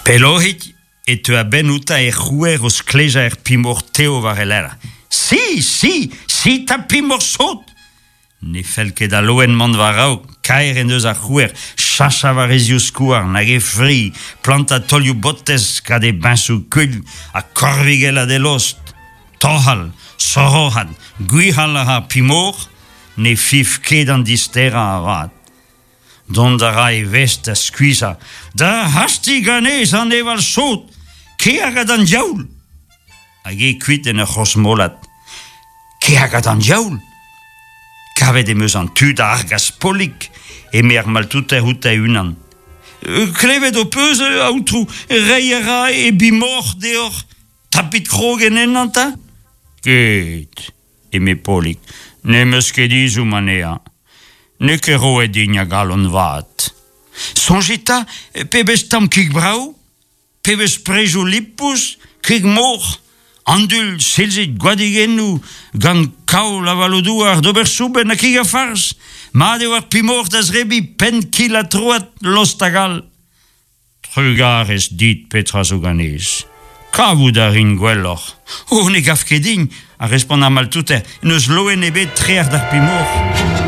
Pellohik e teu a-benn outañ er c'houer o sklejañ er pimoc'h tev war e lerc'h. Si, si, si 'ta pimoc'h sot! Ne fell ket al loen mont war-raok, kaer en deus ar c'houer chachañ war e zivskouarn hag e fri, plantañ taolioù botez gant e biñsoù kuilh ha korvigellat e lost. Toc'hal, soroc'hat, gwic'hal a ra ar pimoc'h, ne fiñv ket an disterañ avat. Dont a ra e vestr da skuizhañ. Da hastiñ ganez aneval sot, kea gant an diaoul! Hag eo kuit en ur c'hrozmolat. Kea gant an diaoul! Kavet em eus an tu da argas Polig, eme ar maltouter outañ e-unan. Klevet ho peus, aotrou, reiñ a ra e bimoc'h deoc'h. Tapit krog en ennañ 'ta? Ket, eme Polig, n'em eus ket ezhomm anezhañ. N'eo ket roet din a galon vat. Soñjit 'ta, pebezh tamm kig brav, pebezh prejoù lipous, kig moc'h, andul, silzig, gwadigennoù, gant kaol avaloù-douar d'ober soubenn ha kig ha farz. Mat eo ar pimoc'h da zebriñ penn kil ha troad, lost hag all. Trugarez dit petra zo ganez. Kavout a rin gwelloc'h. Oh, ne gav ket din, a respont ar maltouter, n'eus loen ebet trec'h d'ar pimoc'h.